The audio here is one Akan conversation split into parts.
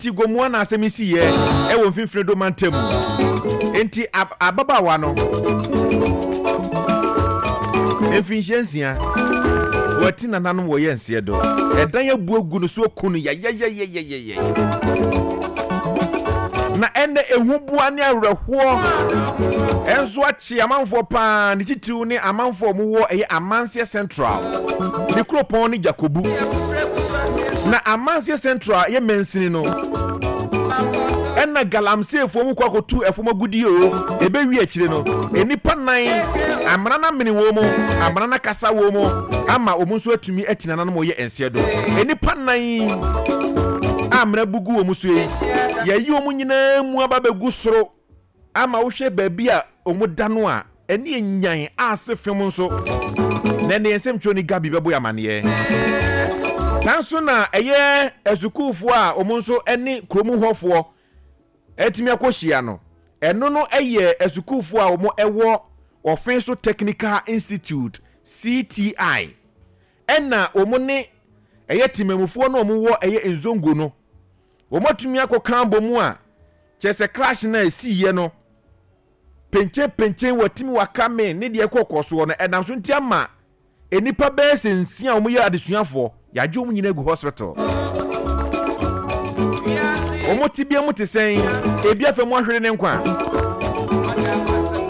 Ti Gomoa na asɛm yi siiɛ wɔ Mfimfini Do mantam mu. Enti ababaawa no, mfinhyia nsia, wati nananom wɔ yɛ nseɛ do. Ɛdan abu agu no so aku no yayayayayayay. Na ɛnɛ ehuboa ne awerɛhoɔ nso akye amanfoɔ paa, ne titiriw ne amanfoɔ a wɔwɔ ɛyɛ Amanseɛ Central, ne kuropɔn ne Jakobu. Na Amanseɛ Central yɛ mansini no, ɛna galamseefoɔ mu kɔ akɔtu ɛfam agudie o, ɛbɛwie akyire no, nnipa nan, amena no amene wɔn mu, amena no akasa wɔn mu, ama wɔn nso atumi ati nananom wɔyɛ nseɛ do. Nnipa nan a amena bugu wɔn so yi, yɛayi wɔn nyinaa mu aba bɛgu soro. Ama wohwɛ baabi a wɔda no a, ɛne enyan a ase fem nso. Na ɛnde yɛn nsɛmtwerɛni Gabi bɛbɔ yɛn amaneɛ. Saa nso na ɛyɛ asukuufoɔ a wɔn nso ne kurom hɔfoɔ atumi akɔhyia no. Ɛno no yɛ asukuufoɔ a wɔwɔ Ɔfenso Technical Institute, CTI, ɛna wɔn ne ɛyɛ temamufoɔ no a wɔwɔ ɛyɛ Nzongo no. Wɔatumi akɔka abɔ mu a, kyerɛ sɛ crash no a ɛsiiɛ no, penkyenpenkyen watumi waka me ne deɛ ɛkɔkɔ soɔ no, ɛnam so nti ama nnipa bɛyɛ sɛ nsia a wɔyɛ adesuafoɔ, yɛagye wɔn nyinaa agu hospital. Wɔn tebea mu te sɛn? Ebi afa mu ahwere ne nkwa.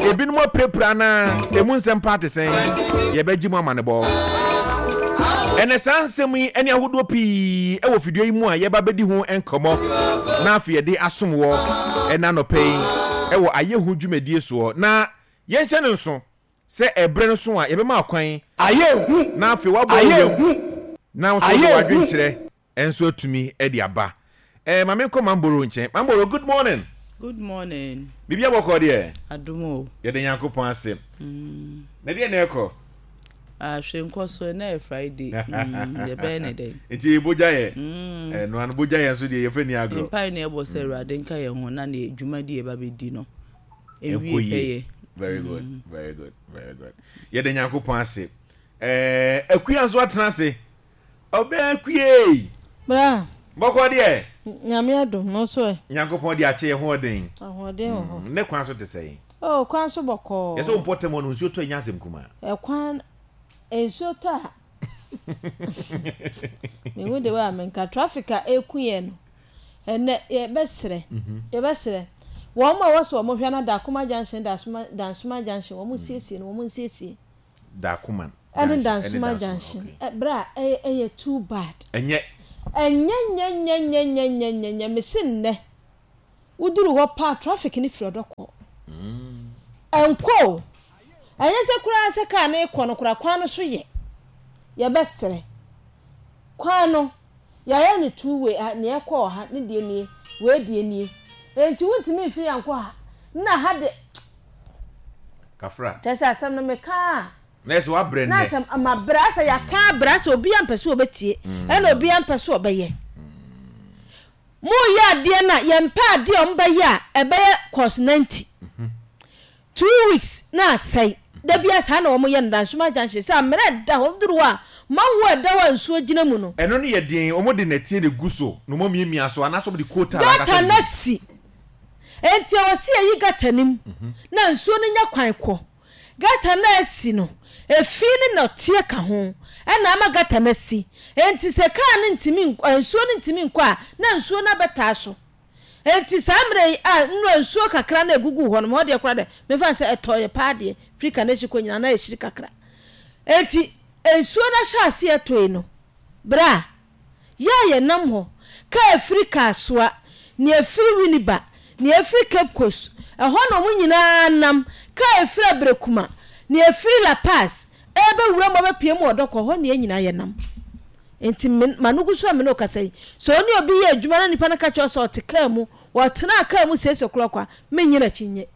Ebinom apirapira anaa? Emu nsɛm paa te sɛn? Yɛbɛgye mu amanebɔ. Ɛnɛ saa nsɛm yi ne ahodoɔ pii wɔ fidua yi mu a yɛba bɛdi ho nkɔmmɔ na afei yɛde asom wɔ ɛna anɔpa yi wɔ ayɛhu dwumadie soɔ. Na yɛnhyɛ no nso sɛ ɛberɛ no so a yɛbɛma akwan Ayɛ hu! na afei woabɔ wo Ayɛ yam hu! na wo nso wode Ayɛ hu! w'adwenkyerɛ nso atumi de aba. Eh, ma menkɔ Mamboro nkyɛn. Mamboro, good morning. Good morning. Biribi abɔkɔ deɛ? Adom o. Yɛde Nyankopɔn ase. Na deɛ na ɛkɔ? Ah, hwee nkɔ so, ɛnɛ yɛ Friday. Yɛbɛyɛ ne dɛn? Nti bogya yɛ. Ɛno ano bogya yɛ nso deɛ yɛfɛ ni agorɔ. Mpae na ɛbɔ sɛ Awurade nka yɛn ho na ne dwumadi yɛba bɛdi no. Ɛnkɔ yie. Very good, very good, very good. Yɛde Nyankopɔn ase. Eh, Akua nso atena ase. Ɔbɛn kuei. Bra. Bɔkɔ deɛ. Nyame adom no so ɛ. Nyankopɔn de akyɛ yɛ ho ɔden. Ahoɔden wɔ hɔ. Ne kwan so te sɛn? Oh, kwan so bɔkɔɔ. Yɛ sɛ wo mpɔtam hɔ no nsuo tɔ ɛnyɛ asɛm kumaa. Ɛkwan nsuo tɔ a. Mehu de wei a menka traffic a ɛku yɛn no. Ɛnɛ yɛbɛsrɛ yɛbɛsrɛ wɔn a ɛwɔ sɛ wɔn hwɛ na Dakoma junction Dansoma junction wɔn nsiesie no wɔn nsiesie. Dakoman Ɛne Dansoma junction bra ɛyɛ ɛyɛ too bad. Ɛnyɛ. Ɛnyɛ nyɛ nyɛ nyɛ nyɛ nyɛ nyɛ nyɛ mese nnɛ woduru hɔ paa traffic no firi ɔdɔ kɔ. Ɛnkɔ o ɛnyɛ sɛ koraa sɛ car no rekɔ no koraa kwan no so yɛ yɛbɛsrɛ kwan no yɛayɛ no two way ah nea ɛkɔ wɔ ha ne deɛ nie wei deɛ nie enti wontumi mfiri ha nkɔ ha na ha de Kafra. Kyerɛ sɛ asɛm no meka a. Na ɛsɛ wabrɛ nnɛ. Na asɛm mabrɛ asɛ yɛaka abrɛ asɛ obiara mpɛ sɛ ɔbɛtie ɛna obiara mpɛ sɛ ɔbɛyɛ. Moyɛ adeɛ no a yɛmpɛ adeɛ a wɔbɛyɛ a ɛbɛyɛ course 90. Two weeks na asɛe. Da biara saa na wɔyɛ no Dansoma junction sɛ amena ɛda hɔ woduru hɔ a manhole ɛda hɔ a nsuo gyina mu no. Ɛno no yɛ den wɔde nɛteɛ na egu so na wɔamiamia so anaasɛ wɔde coal tar ankasa Gutter na no egu. asi. Enti ɛwɔ sɛ yɛyi gutter no mu na nsuo no nya kwan kɔ. Gutter no a asi no, efi ne nnɔteɛ ka ho na ama gutter no asi. Enti sɛ kaa no ntumi nkɔ, nsuo no ntumi nkɔ a, na nsuo no abɛtaa so. Enti saa mmerɛ yi a nnora nsuo kakra na ɛguguu hɔ no, hɔ deɛ koraa deɛ, memfa no sɛ ɛtɔeɛ paa deɛ, firi Kanehye kɔ nyinaa na ɛhyiri kakra. Enti nsuo no ahyɛ aseɛ tɔe no, berɛ a Yɛ a yɛnam hɔ, kaa ɛfiri Kasoa, nea ɛfiri Winneba, nea ɛfiri Cape Coast, ɛhɔ na wɔn nyinaa nam, kaa ɛfiri Aberekuma, nea ɛfiri La Paz, ɛrebɛwura mu abɛpue mu wɔ Dɔkɔ, ɛhɔ na yɛn nyinaa yɛnam. Enti me, m'ano gu so a me ne wo kasa yi, sɛ wo ne obi yɛ adwuma na nipa no ka kyerɛ wo sɛ ɔte kaa mu, ɔtenaa kaa mu six o'clock a, mennye no akyinnye.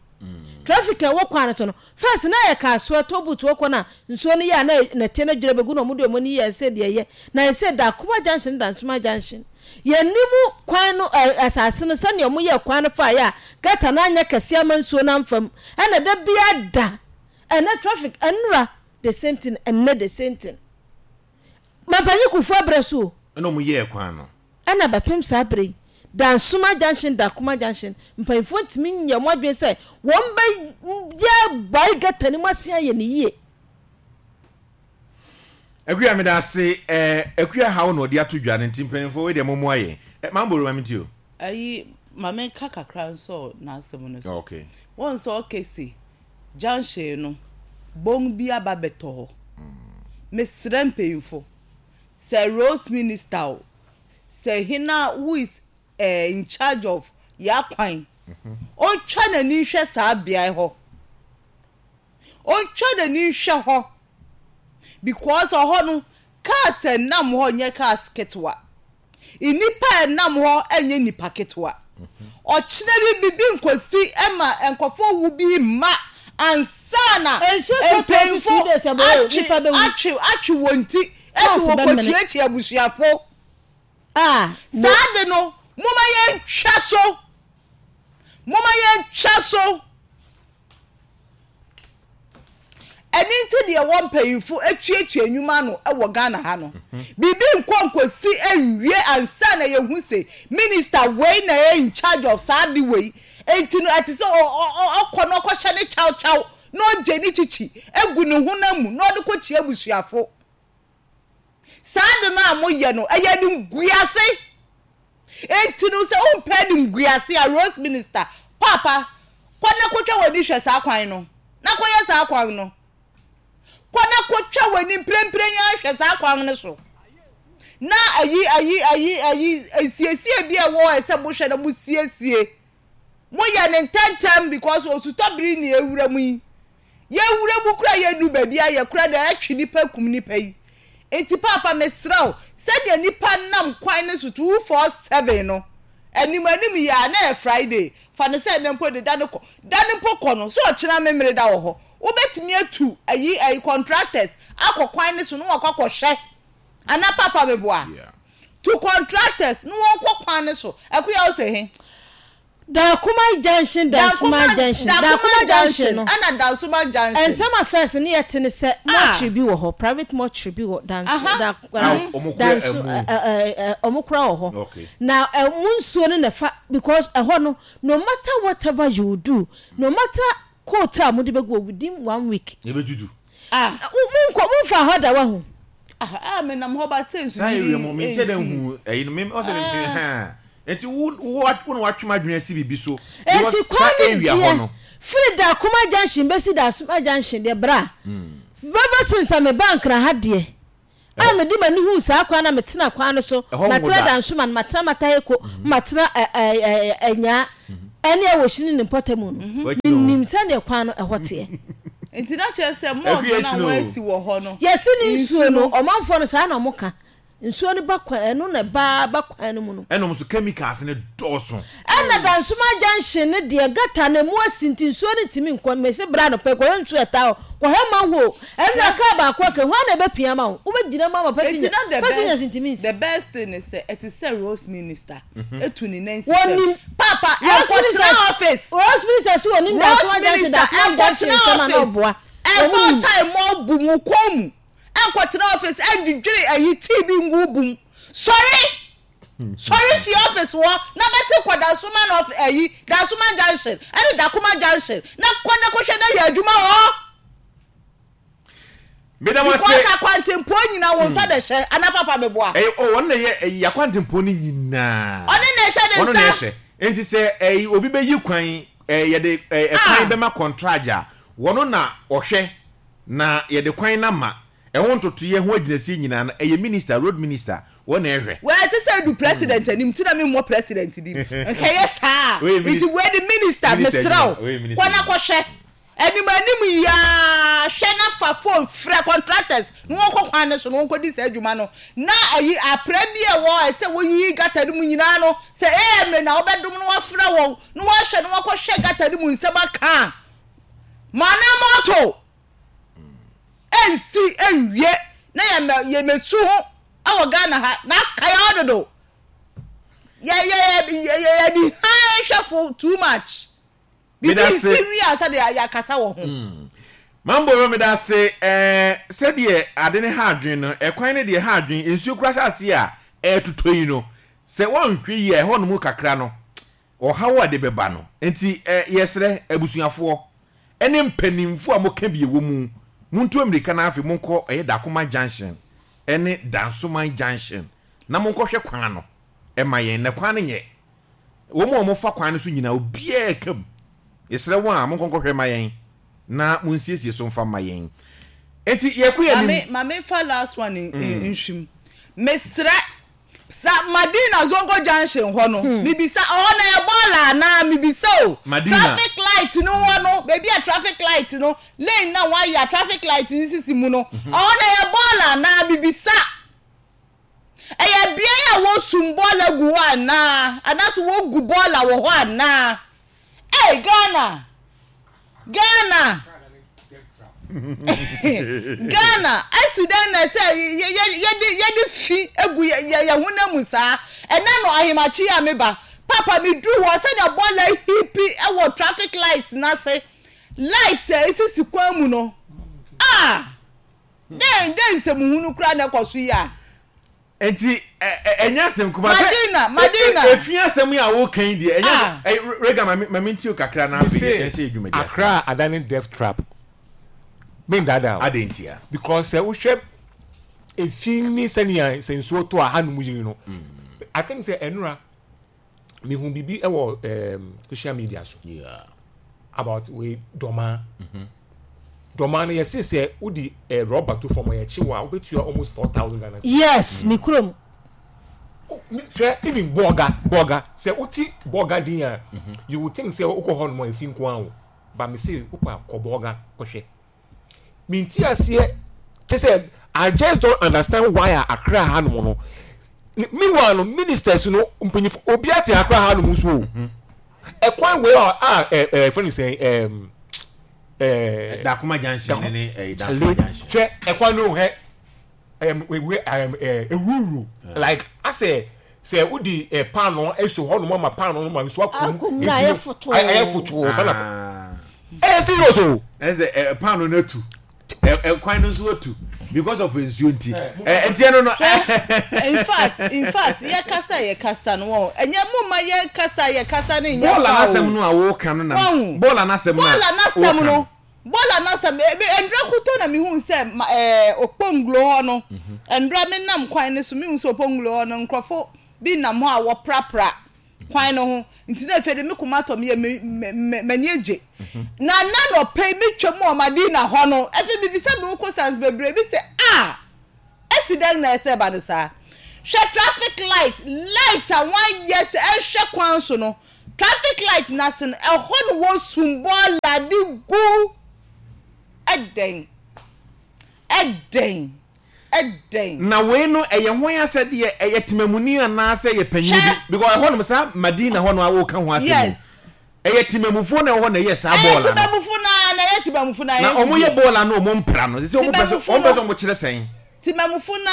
Traffic a ɛwɔ kwan no so no, First na yɛ kaa soɛ toll booth wɔ kɔ na nsuo no yɛ a na nɛteɛ no adwiri abɛgu na ɔmo de ɔmo ani yɛ sɛ deɛ ɛyɛ na yɛ sɛ Dakoma junction ne Dansoma junction yɛ nim kwan no ɛ asase no sɛdeɛ ɔmo yɛ kwan no faa yɛ a gutter no anyɛ kɛseɛ ama nsuo no amfa mu ɛna da biara da ɛnɛ traffic ɛnora the same thing ɛnɛ the same thing Mampanyin Kufuor abrɛ so o. Ɛna ɔmo yɛɛ kwan no. Ɛna bɛpem saa berɛ yi. Dansoma junction, Dakoma junction, mpanyinfoɔ ntumi nyɛ wɔn adwene sɛ wɔn bɛ yɛ bae gata no mu asen ayɛ no yie. Akua meda ase eh, Akua haw na ɔde ato dwa no nti mpanyinfoɔ wei deɛ mommoa yɛn eh, Mambo ma mentie o. Ayi ma menka kakra nsɔ n'asɛm no so. Okay. Wɔn sɛ ɔkɛse junction no bɔn bi aba bɛtɔ hɔ. Mesrɛ mpanyinfo sɛ roads minister o sɛ hena who is eh, in charge of y'akwan ɔntwa n'ani nhwɛ saa beae hɔ. Ɔntwa n'ani nhwɛ hɔ because ɔhɔ no cars a ɛnam hɔ nyɛ cars ketewa. Nnipa a ɛnam hɔ nyɛ nnipa ketewa. Ɔkyena bi bibi nkosi ma nkurɔfoɔ wu bi mma ansa na Nsuo tɔ mpanyinfo 22 days ɛbɔ o, atwe nipa bɛwu. atwe atwe wɔn ti Cars asi wɔn bɛmene. kɔkyiakyia abusuafo. Ah, mo. Saa de no, momma yɛntwa so. Momma yɛntwa so. Ɛno nti deɛ wɔ mpanyinfo atuatua nnwuma ano wɔ Ghana ha no, biribi nkɔ nkɔsi nwie ansa na yɛhu se minister wei na ɛyɛ in charge of saa ade wei. Enti no ɛte sɛ ɔkɔ na ɔkɔhyɛ ne kyaw kyaw na ɔgye ne kyikyi gu ne honam mu na ɔde kɔkyia abusuafo. Saa ade no a moyɛ no, ɛyɛ animguase. Enti no, sɛ wompɛ animguase a, Rose Minister, Paapa, kɔ na kɔtwa w'ani hwɛ saa kwan no, na kɔyɛ saa kwan no. Kɔ na kɔtwa w'ani mprempren yi ara hwɛ saa kwan no so. Na ayi, ayi, ayi, ayi, nsiesie bi a ɛwɔ hɔ a ɛsɛ mohwɛ na mosiesie. Moyɛ no ntɛntɛm because osutɔ bere ni ewura mu yi. Yɛwura mu koraa yɛnnu baabi a yɛ koraa na ɛtwe nipa kum nipa yi. Nti paapa mesrɛ wo sɛdeɛ nipa nam kwan no so 247 no anim anim yi a na ɛyɛ Friday fa no sɛ ɛnɛ mpo de da no kɔ da no mpo kɔ no sɛ ɔkyena memere da wɔ hɔ wobɛtumi atu ayi ayi contractors akɔ kwan no so na wɔakɔ akɔhwɛ anaa paapa meboa to contractors na wɔnkɔ kwan no so ɛkoya wo sɛ he. Dankoma junction Dansuma junction Dankoma junction no ɛna Dansuma junction. Nsɛm a first ne yɛ te ne sɛ mortuary bi wɔ hɔ private mortuary bi wɔ Dansu da Dansu ɔmo kora wɔ hɔ na ɛmo nsuo no na ɛfa because ɛhɔ no no matter whatever you do no matter coat a mo de bɛgu wɔ within one week. Ebetutu. Ah. Mo nkɔ mo nfa hɔ da wahu. Ah, ah, me nam hɔ ba sɛ nsu Saa yiri area mu, me nhyɛ da nsi. nhu ɛyi no, me ɔsɛ me me ha. Nti wo wo wo na watwe m'adwene asi biribi so. Because Enti saa kwan no area hɔ deɛ no. firi Dakoma junction bɛsi Dasoma junction deɛ bra. Ever since a mebaa Nkran ha deɛ a mede m'ani huu saa kwan no a metena kwan no so, Ɛhɔ nwo matena da. Dansoman, matena Mataheko, matena ɛ ɛ ɛ Anyaa ɛne Awoshini ne mpɔtamu no, W'akyi no. menim sɛdeɛ kwan no ɛhɔ teɛ. Nti na kyerɛ sɛ morgue Akua no a akyi no. wɔasi wɔ hɔ no, Yɛse ne nsu nsuo no, no. ɔmanfoɔ no saa na wɔka. Nsuo no ba kwan, ɛno na ɛba ba kwan no mu no. Ɛna ɔmo nso chemicals no dɔɔso. Ɛna Dansoma junction no deɛ gutter no ɛmu asi nti nsuo no ntumi nkɔ. Mese bra anɔpa yi kɔhwɛ nsuo a ɛtaa hɔ, kɔhwɛ manhole. Ɛnora car baako aka yi, hwan na ɛbɛpia ama wo? Wobɛgyina mu ama Nti passenger, na the passengers best ntumi nsi. the best thing ne sɛ ɛte sɛ rose minister etu ne nan si fam. Wɔnim. Papa Rose ɛnkɔtena minister, office. Rose minister so wɔnim Rose Dansoma junction, minister Dansoma junction ɛnkɔtena nsɛm a na office. ɔboa. Ɛmfa Wɔn nim. ɔtae mmɔ bu wo kɔn mu. Ɛnkɔtena office ɛndwidwiri ayi tea bi ngu wo bo mu. Sɔre! Sɔre fi office hɔ na bɛse kɔ Dansoman off ayi Dansoman junction ɛne Dakoma junction na kɔ na kɔhwɛ na yɛ adwuma wɔ hɔ. Meda mo ase. Because akwantempɔn nyinaa wo nsa na ɛhyɛ anaa papa meboa? Ɛyɛ oh ɔno na ɛyɛ ɛyi akwantempɔn no nyinaa. Ɔno na ɛhyɛ ne Ɔno na nsa. ɛhyɛ. Nti sɛ ɛyi obi bɛyi kwan ɛɛ yɛde ɛɛ ɛkwan Ah. bɛma kɔntragye a wɔno na ɔhwɛ na yɛde kwan no ama. Ɛho ntotoeɛ ho agyinasie nyinaa no ɛyɛ minister road minister wɔn na ɛhwɛ. Wei ɛte sɛ edu president anim nti na me mmɔ president din nka ɛyɛ saa a Wei yɛ nti minis wei de minister minister mesrɛ adwuma wo wei yɛ minister kɔ na adwuma. kɔhwɛ anim anim yi ara hwɛ na fa phone frɛ contractors na wɔnkɔ kwan no so na wɔnkɔdi saa adwuma no na ayi aprɛ bi a ɛwɔ hɔ a ɛsɛ wɔyiyi gutter no mu nyinaa no sɛ AMA na wobɛdom na wɔafrɛ wɔn na wɔahwɛ na wɔakɔhwɛ gutter no mu nsɛm aka a ma na moto ɛnsi ɛnwie na yɛmɛ yɛmɛsu ho ɛwɔ Ghana ha na aka yɛ hɔ dodo yɛ yɛ yɛ yɛ yɛ di han hwɛfo too much Meda bibi ase. nsi wie ansa de yɛakasa wɔ ho. Mamboro meda ase ɛɛ sɛdeɛ ade no ha adwene no ɛkwan no deɛ ha adwene nsuo kura hyɛ aseɛ a ɛɛtotɔ yi no. Sɛ woanhwɛ yie a, ɛhɔnom kakra no, ɔhaw a ɛde bɛba no nti, yɛsrɛ abusuafoɔ ne mpanimfoɔ a moka bi wɔ mu, montu ammirika na afei monkɔ ɛyɛ Dakoma Junction ne Dansoman Junction na monkɔhwɛ kwan no ma yɛn, na kwan no nyɛ. Wɔn a wɔfa kwan no so nyinaa, obiara reka mu. Yɛsrɛ wɔn a, monkɔ nkɔhwɛ ma yɛn na monsiesie so mfa mma yɛn. Enti yɛkɔ yɛn anim. Ma memfa last one nhwim. Mesrɛ Sa Madina Zongo junction hɔ no, mebisa, ɛhɔ no ɛyɛ bɔɔla anaa? Mebisa o. Madina. Traffic light no hɔ no, baabi a traffic light no, lane no a wɔayɛ a traffic light no sisi mu no, ɛhɔ no ɛyɛ bɔɔla anaa? Mebisa. Ɛyɛ beae a wɔsum bɔɔla gu hɔ anaa? Anaasɛ wɔgu bɔɔla wɔ hɔ anaa? Ei Ghana! Ghana! Ghana! Asi dɛn na sɛ yɛde yɛde fi gu yɛ yɛn honam mu saa? Ɛnɛ no ahemakye yi a meba, papa meduru hɔ sɛnea bɔɔla hipi wɔ traffic lights no ase, lights a esisi kwan mu no, ah! Dɛn dɛn nsɛmhunu koraa na ɛkɔ so yi a? Nti ɛnyɛ asɛm kuma sɛ Madina Madina efi asɛm yi a woka yi deɛ ɛnyɛ ah. Rega ma ma me ntiw kakra na afei yɛn hyɛ dwumadi ase. Accra adane death trap. Me ndaadaa o. Adɛn ntia? Because sɛ wohwɛ efi ne sɛnea sɛ nsuo tɔ a hanom yiri no. Mm. I think sɛ ɛnora mehu biribi wɔ um, social media so yeah. about wei dɔmaa mm -hmm. dɔmaa no yɛse sɛ wode eh, rɔba to fam a yɛkye wɔ a wobɛtua almost 4000 Ghana cedis. Yes, me kurom. Hwɛ even bɔga bɔga sɛ wote bɔga din a mm -hmm. you would think sɛ wokɔ hɔ nom a ɛfi nko a wo ba me se wopɛ a kɔ bɔga kɔhwɛ Mente aseɛ kyɛ sɛ I just don't understand why a Accra ha nom no meanwhile no ministers no mpanyinfo obi ate Accra ha nom nso o mhm. ɛkwan wei a a ɛ ɛ fɛn sɛn ɛɛm ɛɛ Dakoma junction ne ɛɛ Dansoma junction hwɛ ɛkwan no hɛ ɛm ewe ɛm ɛ ewuwuru like asɛ sɛ wodi ɛ paano eso hɔ nom ama paano no ma nsu akum Akum na ayɛ fotoo. Ayɛ fotoo sana ɛyɛ serious o. Ɛsɛ ɛ paano no atu ɛ ɛ kwan no nso atu because of nsuo nti ɛ nti ɛno no. In fact in fact yɛ kasa yɛ kasa no wɔn ɛnyɛ mo ma yɛ kasa yɛ kasa no nyɛ kwa o. Bɔɔla n'asɛm no a wɔka no na bɔɔla n'asɛm no a bɔɔla n'asɛm no. Bɔɔla no asɛm, eh, me, ndra kotɔ na mihuu sɛ ma, eh, Okponglo hɔ no, ndra me nam kwan no so, mihuu sɛ Okponglo hɔ no, nkorɔfo bi nam hɔ a wɔprapra kwan no ho, nti na afei de me koma atɔ me yam, me, me, me, m'ani egye. Na na anɔpa yi metwa mu wɔ Madina hɔ no, afei mibisa me ho questions bebree bi sɛ, ah, esi dɛn na ɛsɛ ɛba no saa? Hwɛ traffic light, light a wɔayɛ sɛ ɛnhwɛ kwan so no, Traffic light no ase no, ɛhɔ na wɔsum bɔɔla de gu. Ɛdɛn? Ɛdɛn? Ɛdɛn? Na wei no ɛyɛ hwan asɛdeɛ? Ɛyɛ temamuni anaasɛ ɛyɛ panyin bi? Hwɛ! Because ɛhɔ nom saa Madina hɔ no a woka ho asɛm yi, Yes. ɛyɛ temamufoɔ na ɛwɔ hɔ na ɛyɛ saa Ɛyɛ bɔɔla no. temamufo no ara na ɛyɛ temamufo no ara, Na ɛyɛ wɔyɛ video. bɔɔla no wɔn mpra no. Sɛ sɛ wɔn pɛ sɛ Temamufo wɔn pɛ sɛ no. wɔn kyerɛ sɛn? Temamufo no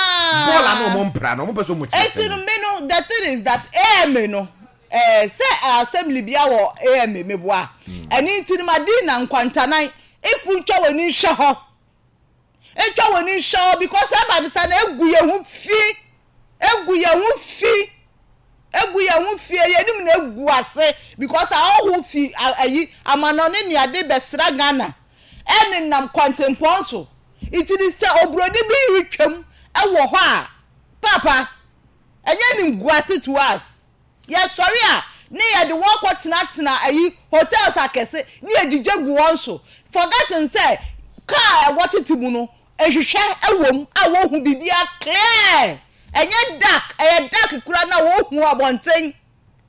Bɔɔla no ara. wɔn mpra no wɔn pɛ sɛ wɔn kyerɛ Enti no sɛn? me no the thing is that AMA no Eh sɛ assembly bia wɔ AMA meboa ɛno nti no Madina nkwantanan if ntwa w'ani nhwɛ hɔ ntwa w'ani nhwɛ hɔ because ɛba no sa na egu yɛn ho fi egu yɛn ho fi egu yɛn ho fi yɛn anim na egu ase because ahɔho fi ayi amanɔne ne ade bɛsra Ghana ɛnenam kwantempɔn so nti ne sɛ oburoni bi retwam ɛwɔ hɔ a papa Ɛnyɛ animguase to us. Yɛsɔre a ne yɛde wɔn kɔ tenatena ayi hotels akɛse ne yɛgyigya gu wɔn so forgetting sɛ car a wɔtete mu no nhwehwɛ wɔ mu a wɔhu biribiara clear ɛnyɛ dark ɛyɛ dark koraa na wɔhu abɔnten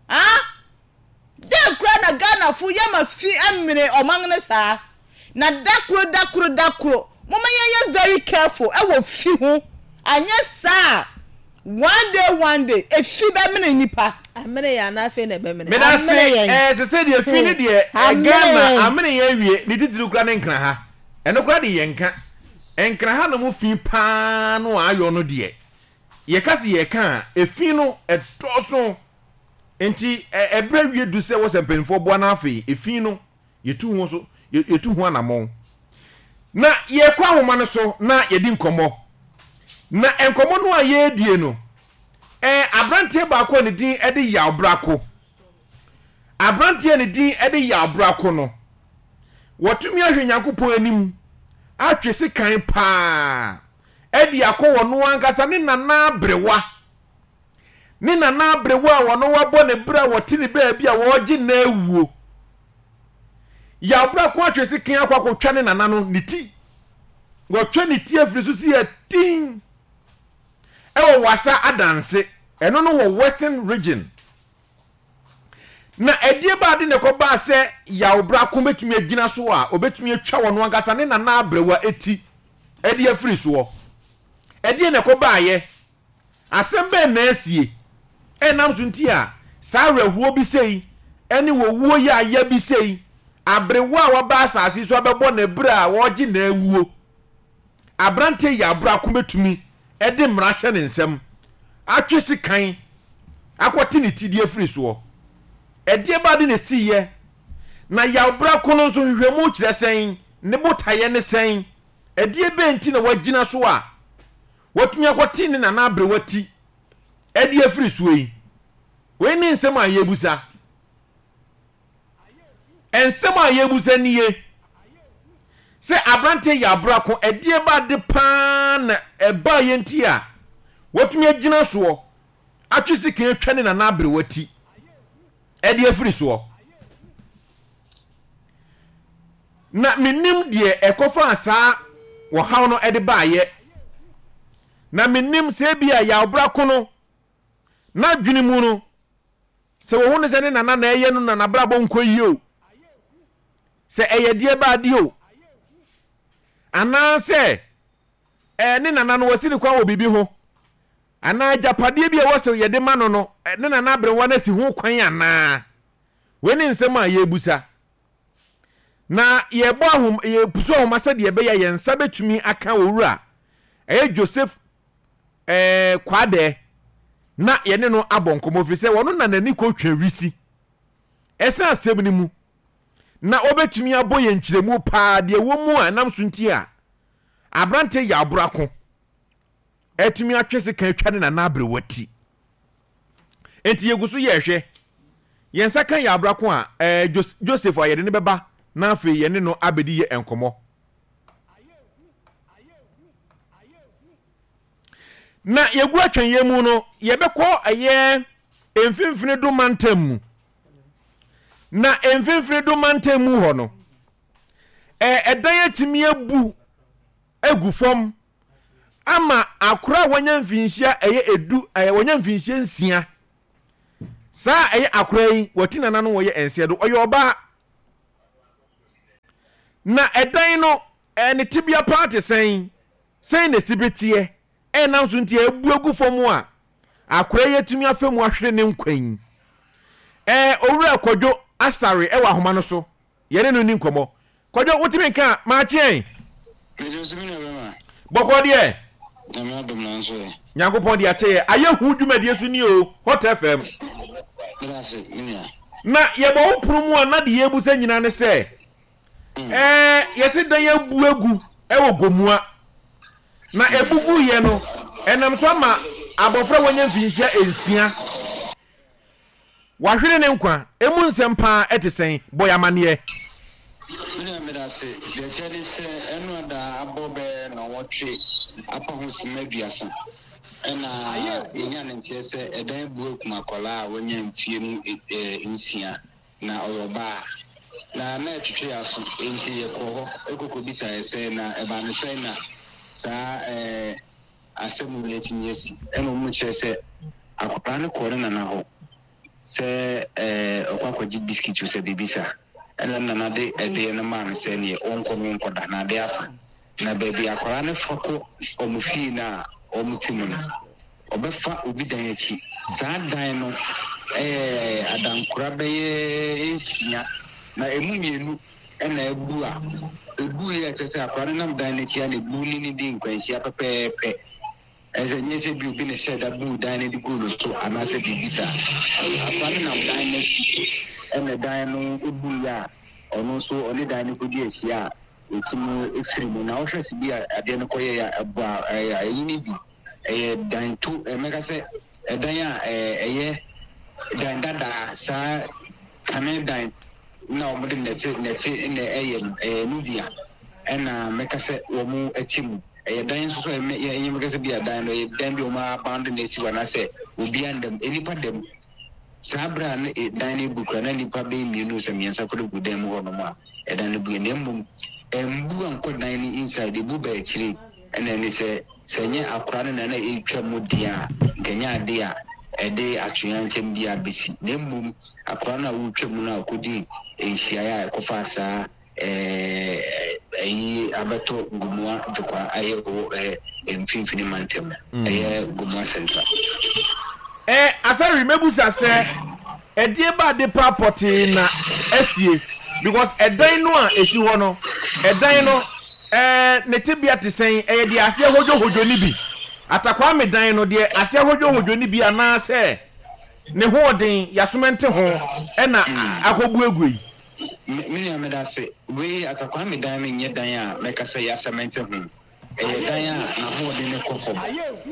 ah. Dɛn koraa na Ghanafo yɛ ma fi mene ɔman no saa? Na dakoro dakoro dakoro momma yɛnyɛ very careful wɔ fi ho anyɛ saa a one day one day efi bɛmene nnipa. Amene yɛn anaa afei na ɛbɛmene? Medase Amene yɛn. eh, sese deɛ fi ne deɛ eh, Amene Ghana yɛn. amene yɛn awie ne titiriw koraa ne nkra ha ɛno koraa de yɛn nka nkra ha nom fi paa no a ayɔ no deɛ yɛka se yɛka a efi no ɛdɔɔso Enti ɛberɛ awie du sɛ wɔ sɛ mpanimfoɔ boa na afei efi no yɛtu ho so yɛtu ho anammɔn. Na yɛkɔ ahoma no so na yɛdi nkɔmmɔ. Na nkɔmmɔ no a yɛredie no, Ɛɛ aberanteɛ baako a ne din de Yaw Brako. Aberanteɛ a ne din de Yaw Brako no, watumi ahwɛ Nyankopɔn anim atwe sekan paa de akɔ wɔn ankasa ne nana aberewa. Ne nana aberewa a wɔn wabɔ ne berɛ a wɔte ne baabi a wɔregye na awuo. Yaw Brako atwe sekan akɔ akɔtwa ne nana no ne ti. Wɔtwa ne ti afiri so si atin. ɛwɔ Wassa Adanse, ɛno no wɔ Western Region. Na ɛdeɛ ba ade na ɛkɔbaa sɛ Yaw Brako bɛtumi agyina so a ɔbɛtumi atwa wɔn ankasa ne nana abrɛwa ti ɛde afiri soɔ. Ɛdeɛ na ɛkɔbaayɛ? Asɛm bɛn na asie? Ɛnam so nti a saa awerɛhoɔ bi sei ɛne owuo yaaya bi sei aberewa a waba asase so abɛbɔ ne berɛ a wɔregye n'awuo. Aberanteɛ yi abrako bɛtumi de mmara ahyɛ ne nsam, atwe sekan akɔte ne ti de afiri soɔ. Ɛdeɛ ba de na ɛsiiɛ? Na yaw brako no nso nhwehwɛmu kyerɛ sɛn? Ne botaeɛ ne sɛn? Ɛdeɛ bɛn nti na wagyina so a watumi akɔte ne nana aberewa ti de afiri soɔ yi? Wei ne nsɛm a yɛrebisa. Nsɛm a yɛrebisa nie, Sɛ aberanteɛ yɛ abrako, ɛdeɛ ba ade paa na ɛbaa yɛ nti a watumi agyina soɔ atwe sekan atwa ne nana aberewa ti ɛde afiri soɔ? Na menim deɛ ɛkɔfaa saa ɔhaw no ɛde baayɛ. Na menim sɛ ebi a yɛ abrako no n'adwene mu no Sɛ wɔhu no sɛ ne nana na ɛyɛ no na n'abrabɔ nkɔ yie o, sɛ ɛyɛ deɛ ba adeɛ o, anaasɛ ɛɛ ne nana no wɔasi ne kwan wɔ biribi ho, anaa agyapadeɛ bi a ɛwɔ sɛ yɛde ma no no, ne nana aberewa no asi ho kwan anaa? Wei ne nsɛm a yɛrebusa. Na yɛbɔ ahom yɛpusu ahoma sɛdeɛ ɛbɛyɛ a yɛn nsa bɛtumi aka owura ɛyɛ Joseph ɛɛ Kwaadɛ na yɛne no abɔ nkɔmmɔ firi sɛ ɔno na n'ani kɔtwa wisi ɛsɛn asɛm no mu na ɔbɛtumi abɔ yɛn nkyerɛmu paa deɛ ɛwɔ mu a ɛnam so nti a aberante yɛ aborako atumi atwe sekan atwa ne nana aberewa ti. Enti yɛgu so yɛrehwɛ. Yɛn nsa ka yɛ abrako a ɛɛ Joseph a yɛde no bɛba na afei yɛne no abɛdi yɛ nkɔmmɔ. Na yɛgu atwɛnyɛ mu no, yɛbɛkɔ ɛyɛ mfimfini do mantam mu. Na mfimfini do mantam mu hɔ no, ɛdan atumi abu agu fam ama akora a wanya mfinhyia ɛyɛ edu ɛyɛ wanya mfinhyia nsia. Saa ɛyɛ akora yi wɔte nana no wɔyɛ nsia do ɔyɛ ɔbaa. Na ɛdan no ne tebea paa te sɛn? Sɛn na esi beteɛ? Ɛnam so nti a ebu agu fam a akora yi atumi afa mu ahwere ne nkwa yi. Ɛɛ Owura Kwadwo Asare wɔ ahoma no so. Yɛne no nni nkɔmmɔ. Kwadwo, wotumi nka a, maakye ɛn? Mede so me nua bɛma. Bɔkɔɔ deɛ? Nyame adom nanso ɛ. Nyankopɔn de akyɛ yɛ. Ayɛ hu dwumadie so nie o, Hot FM. Meda ase, me nua. Na yɛbɔ wo pono mu a na deɛ yɛrebusa nyinaa ne sɛ, ɛɛ yɛse dan abu agu wɔ Gomua. Na ebu guiɛ no, ɛnam so ama abɔfra a wanya mfinhyia nsia wahwere ne nkwa. Emu nsɛm paa ɛte sɛn? Bɔ yɛn amanneɛ. Me nua meda ase. Deɛ ɛteɛ ne sɛ ɛno ada abɔ bɛyɛ nnɔnwɔtwe apa ho simma aduasa ɛna yɛnya ne nteɛ sɛ ɛdan abu akum akwadaa a wanya mfie mu nsia na ɔyɛ ɔbaa. Na na ɛtwetwe yɛn aso, enti yɛkɔɔ hɔ kɔkɔbisaeɛ sɛ na ɛbaa no sɛn na saa asɛm wei atumi asi. Ɛna wɔkyerɛ sɛ akwadaa no kɔɔ ne nana hɔ sɛ ɔkɔ akɔgye biskit o sɛ biribi saa. Ɛna ne nana de ɛdeɛ no maa no sɛ neɛ ɔnkɔ no ɔnkɔda na adeɛ asa. Na baabi akwadaa no fa kɔ wɔn fie no a wɔte mu no, ɔbɛfa obi dan akyi. Saa dan no yɛ adankora bɛyɛ nsia, na emu mmienu na abu a ebuiɛ a ɛkyerɛ sɛ akwadaa no nam dan no akyi a na ebu ne no di nkwanhyia pɛpɛɛpɛ. Ɛsɛ sɛ nyɛ sɛ bi obi na ɛhyɛɛ da buu dan no de guu no so anaasɛ biribi saa. Akwadaa no nam dan no akyi na dan no buiɛ a ɔno nso ɔne dan no kɔdi ahyia a Ɛtumi firi mu. Na wohwɛ sɛ bi a adeɛ no kɔyɛeɛ a, ɛbɔ a, ɛyɛ ayi no bi. Ɛyɛ dan to, mɛka sɛ Ɛdan a ɛyɛ dan dadaa, saa kane dan na wɔde nnɛte nnɛte na ɛyɛ no, ɛyɛ ɛno bi a ɛna mɛka sɛ wɔte mu. Ɛyɛ dan nso so a ɛnyɛ mɛka sɛ bi a dan no ɛyɛ dan bi a wɔn abandon asi hɔ anaasɛ obiara nda mu, nnipa da mu. Saa bere a na dan no rebu koraa na nnipa bɛyɛ mmienu sɛ mmiɛnsa koraa gu dan mu hɔnom a ɛdan no bue na mmom ɛmbu ankɔ dan no inside, ebu ba akyire ɛna ɛne sɛ sɛ ɛnyɛ akora no na na ɛretwa mu deɛ a nka ɛnyɛ adeɛ a ɛde atoyerɛnkyɛm biara bɛsi na mmom akora no a ɔretwa mu no a ɔkɔdii nhyiaeɛ a ɛkɔfaa saa ɛyi abɛtɔ Gomoa Dwekwa ayɛ wɔ mfimfini mantam ɛyɛ Gomoa Central. Ɛ Asare mɛbusa sɛ ɛdeɛ ba ade pa pɔtee na asie because ɛdan no a ɛsi hɔ no ɛdan no ɛɛ ne tebea te sɛn ɛyɛ deɛ aseɛ hodwohodwo ne bi Atakwame dan no deɛ aseɛ hodwohodwo ne bi anaasɛ ne hoɔden yasomɛnte ho ɛna akɔbuebue yi. Me me nua medase. Wei Atakwame dan no nyɛ dan a mɛka sɛ yɛasɛmɛnte ho. Ɛyɛ dan a n'ahoɔden no kɔ fam.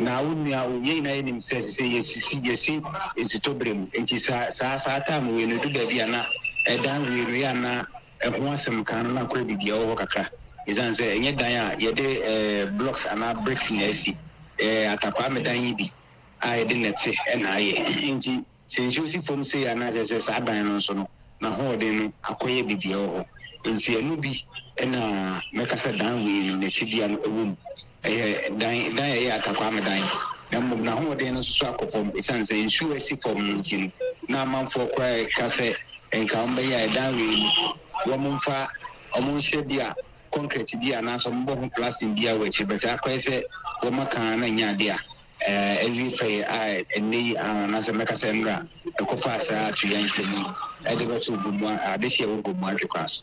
Na wo nua wo yɛn nyinaa yɛnim sɛ sesei yɛsisi yɛsi nsutɔ berɛ mu. Nti saa saa saa time wei no ɛdu baabi a na ɛdan wei no yɛ a na ɛho asɛm ka no na akɔyɛ biribi a ɛwɔ hɔ kakra. Ɛsiane sɛ ɛnyɛ dan a yɛde eh, blocks anaa bricks na asi. Ɛyɛ Atakwame dan yi bi a yɛde nnɛte na ayɛ. Nti Sɛ nsuo si fam sei a na kyerɛ sɛ saa dan no nso no n'ahoɔden no akɔyɛ biribi wɔ hɔ. Nti ɛno bi na mɛka sɛ dan wei no n'akyidua no wɔ mu. Ɛyɛ dan dan a ɛyɛ Atakwame dan na mmom n'ahoɔden no nso so akɔ fam ɛsiane sɛ nsuo a asi fam no nti no na amanfoɔ koraa reka sɛ nka wɔbɛyɛ a ɛdan wei no wɔmfa wɔnhyɛ bi a concrete bi anaasɛ wɔbɔ ho plastic bi a wɔ akyire but akɔyɛ sɛ wɔaka a na ɛnyɛ adeɛ a awie pɛyɛ a ɛnnɛ yi ara anaasɛ mɛka sɛ nnora ɛkɔfaa saa atoyerɛnkyɛm yi de bɛtoo Gomoa adehye a ɛwɔ Gomoa Ntwekwa so.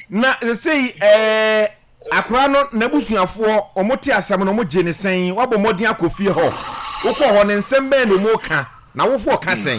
Na sesei ɛɛ akora no n'abusuafoɔ wɔn te asɛm no wɔn gye ne sɛn wabɔ mmɔden akɔ fie hɔ wokɔ hɔ ne nsɛm bɛn na wɔn ka na awofoɔ ka sɛn.